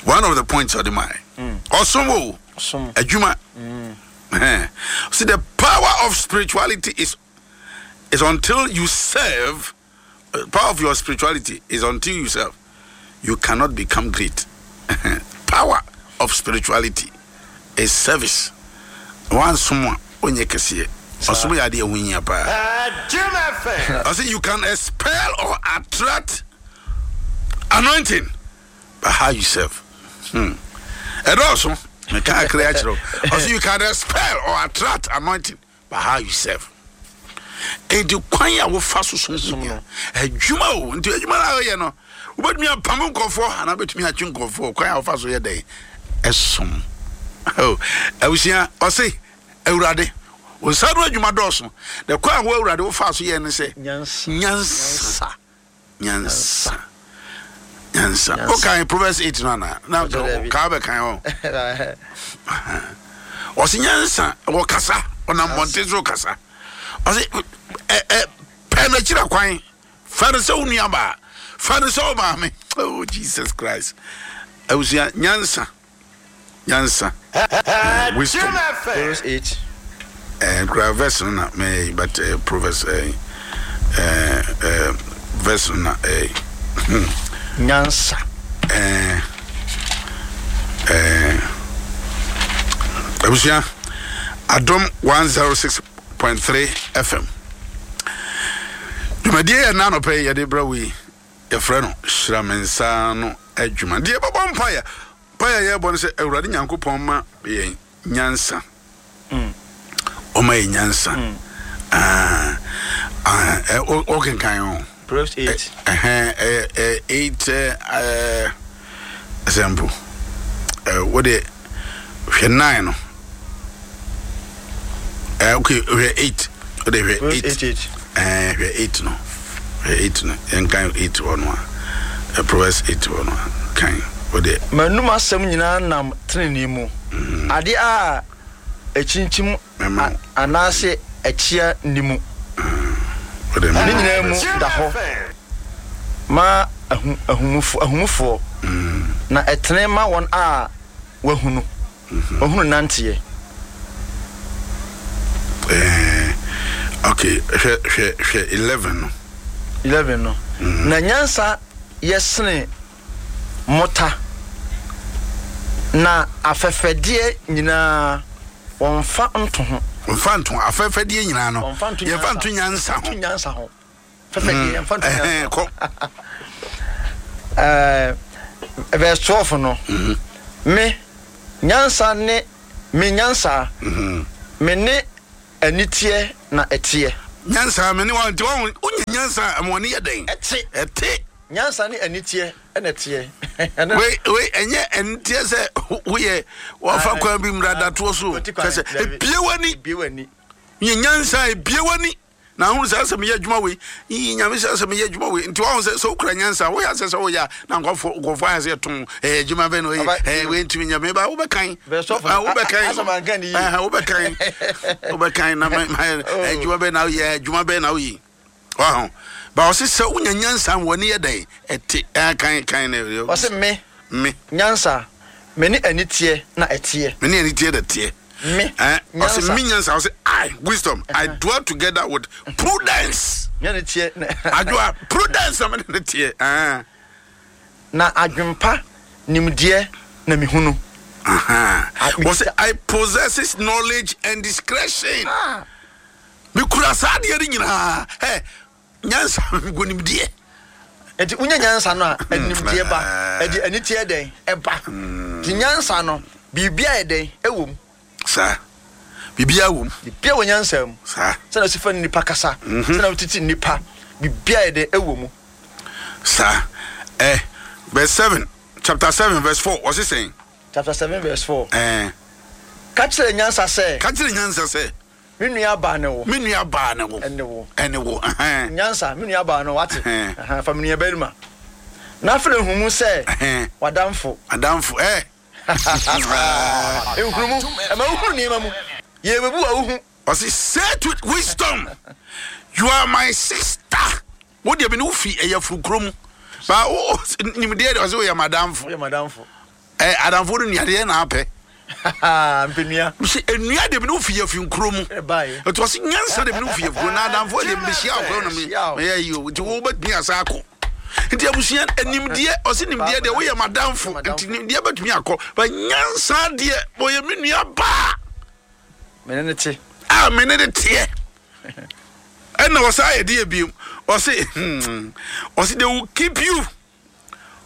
One of the points ɔde mae. Ɔsom o, adwuma. See, the power of spirituality is is until you serve. Power of your spirituality is until you serve. You cannot become great. Power of spirituality is service. One someone onye kɛseɛ. Ɔsom yɛ adeɛ ɛho hia paa. Ɔsɛ you can expel or attract anointing, but how you serve. Hmm. Ɛdɔɔso. Meka akere akyerɛ wo. Ɔsɛ you can expel or attract anointing, but how you serve. Enti kwan a wofa so som som no, adwuma o. Nti adwuma no a woyɛ no, wobɛtumi apam nkurɔfoɔ anaa wobɛtumi atwe nkurɔfoɔ. Kwan a wofa so yɛ dɛn ɛsom. Oh, abusua, ɔse Awurade, wo nsa ano adwuma dɔɔso. Na kwan a wo Awurade wofaa so yɛ ne sɛ nyansa, nyansa, nyansa. Wokan Proverbs eight no anaa? Na kaa bɛkan hɔ. Ɔse nyansa, wɔkasa, ɔnam mmɔnten so kasa. Ɔse ɛ ɛ pɛ n'akyira kwan, fa no sɛ wo nuabaa, fa no sɛ wo maame. Oh Jesus Christ. Abusua, nyansa, nyansa, wisdom. Proverbs eight. Eh, kura verse no na me but uh, Proverbs eh, eh, eh, verse no na eh. Hmm. Nyansa. Eh, eh, abusua, Adom one oh six point three F M. Dwumadie yɛ nna anɔpɛ yi yɛde brɛ wo yi, yɛfrɛ no Hyira Me Nsa Ano Adwuma. Deɛ yɛbɛbɔ mpaeɛ, mpaeɛ a yɛrebɔ no sɛ Awurade Nyankopɔn ma yɛn nyansa. Ɔma yɛn nyansa. Ah, ah, ɔkenkan o. Proverbs eight. Ɛhɛn, ɛyɛ eight ɛɛ example. Ɛɛ wo de hwɛ nine no. Ɛɛ okay, hwɛ eight. Wo de hwɛ eight. Ɛɛ hwɛ eight no. Hwɛ eight no. Yɛn kan eight hɔ no a. Proverbs eight hɔ no a. Kan wo de. M'anum asɛm nyinaa nam tenenee mu. Ade a ɛkyinkyim anaasɛ ɛkyea nni mu. Ne nyinaa mu da hɔ ma ahumufoɔ, na ɛtene ma wɔn a wɔahunu wɔahunu nanteɛ. Okay, hwɛ hwɛ hwɛ eleven no. Eleven no. Na nyansa yɛ sene mota, na afɛfɛdeɛ nyinaa wɔmfa nto ho. Wɔmfa nto afɛfɛdeɛ nyinaa no. Yɛmfa nto nyansa ho. Nyansa ho. Fɛfɛdeɛ yɛmfa nto nyansa ho. Kɔ. Verse twelve no. Me nyansa ne me nyansa. Me ne aniteɛ na ɛteɛ. Nyansa me ne wa nti wɔn wonya nyansa a wɔn yɛ dɛn? Ɛte. Ɛte. Nyansa ne aniteɛ na ɛteɛ. Wei wei ɛnyɛ aniteɛ sɛ woyɛ wɔfa kwan bi mmra datoɔ so. Kyɛ sɛ ebie w'ani. Ebie w'ani. Nyɛ nyansa ebie w'ani. Na ahunu sɛ asɛm yɛ adwuma wei. Yi nyame sɛ asɛm yɛ adwuma wei. Nti wɔn sɛ sɛ wokura nyansa woyɛ asɛ sɛ woyɛ a na nkɔfo nkɔfo ayɛ sɛ ɛtɔn ɛyɛ adwuma bɛn na ɔyɛ ɛɛ wei ntumi nyɛ meba wobɛkan. Wobɛkan. Wobɛkan. Wobɛkan na mɛ adwuma bɛn na woyɛ adwuma bɛn na woyɛ. Waho. Ba ɔse sɛ wonya nyansa w'ani yɛ dɛn ɛte ɛɛ kan kan ne. Ɔse me. Me. Nyansa me ne aniteɛ na ɛteɛ. Me ne aniteɛ na ɛteɛ. Me. Eh, ɔse me nyansa ɔse I wisdom uh -huh. I dwell together with prudence. Me aniteɛ na. Adwoa prudence na me ne ne teɛ. Eh. Na adwempa nimdeɛ na mehunu. Ɔse I possesses knowledge and discretion. Ah. Mekura saa adeɛ no nyinaa. Ɛ nyansa nkonimdeɛ. Nti wonya nyansa no a, ɛnimdeɛ ba, ɛde aniteɛ dɛn ɛba. Nti nyansa no, biribia yɛ dɛn ɛwɔ mu. Saa, biribia wɔ mu. Biribia wɔ nyansa mu. Saa. Sɛna wosi fa nnipa kasa, sɛna wotete nnipa, biribia yɛ dɛn ɛwɔ mu. Saa. Eh, verse seven, chapter seven verse four, ɔse sɛn? Chapter seven verse four. Eh. Ka kyerɛ nyansa sɛ. Ka kyerɛ nyansa sɛ. Me nua baa ne wo. Me nua baa ne wo. Ɛne wo. Ɛne wo. Ɛhɛn. Nyansa, me nua baa no, wate. Ɛhɛn. Ɛhɛn, fa me nua barima. Na afei nhumu sɛ. Ɛhɛn. W'adamfo. Adamfo, ɛ. Nhunumu, ɛma wohunu nneɛma mu. Yɛbɛbu a wohu. Ɔse, say to wisdom, you are my sister. Wo deɛ me ne wo fi ɛyɛ furukuro mu. Ba wo nimdeɛ deɛ ɔse woyɛ m'adamfo. Woyɛ m'adamfo. Ɛ adamfo no nuadeɛ na apɛ. Mpenua. Sɛ enua de bi ne wo fi yɛ fi nkuro mu. Ɛbaeɛ. Ɛti ɔse nyansa de bi ne wo fi yɛ furo na adamfo de bi hyia ɔkɔ na me meyɛ yi o. Nti wo bɛtumi asa akɔ. Nti abusua nimdeɛ ɔse nimdeɛ deɛ woyɛ m'adamfo. Nti nimdeɛ bɛtumi akɔ. Ba nyansa deɛ wɔyɛ me nua baa. Mene ne te. A mene ne teɛ. Ɛna ɔsa ayɛ deɛ biem. Ɔse hmm ɔse they will keep you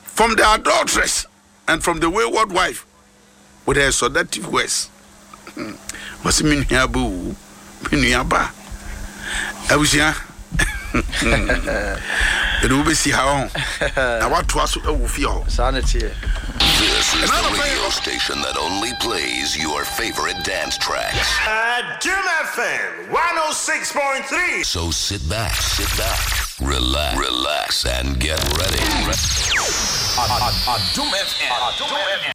from the adulteress and from the wayward wife with her seductive words. Ɔse me nua ba o, me nua ba. Abusua ɛde wobɛsi ha ɔho na woatoa so ɛwɔ fie hɔ. Saa ne teɛ. This is And the I'm a fan. radio station that only plays your favorite dance tracks. Adom F M one oh six point three. So sit back, sit back, relax, relax, and get ready. Adom F M. Adom F M.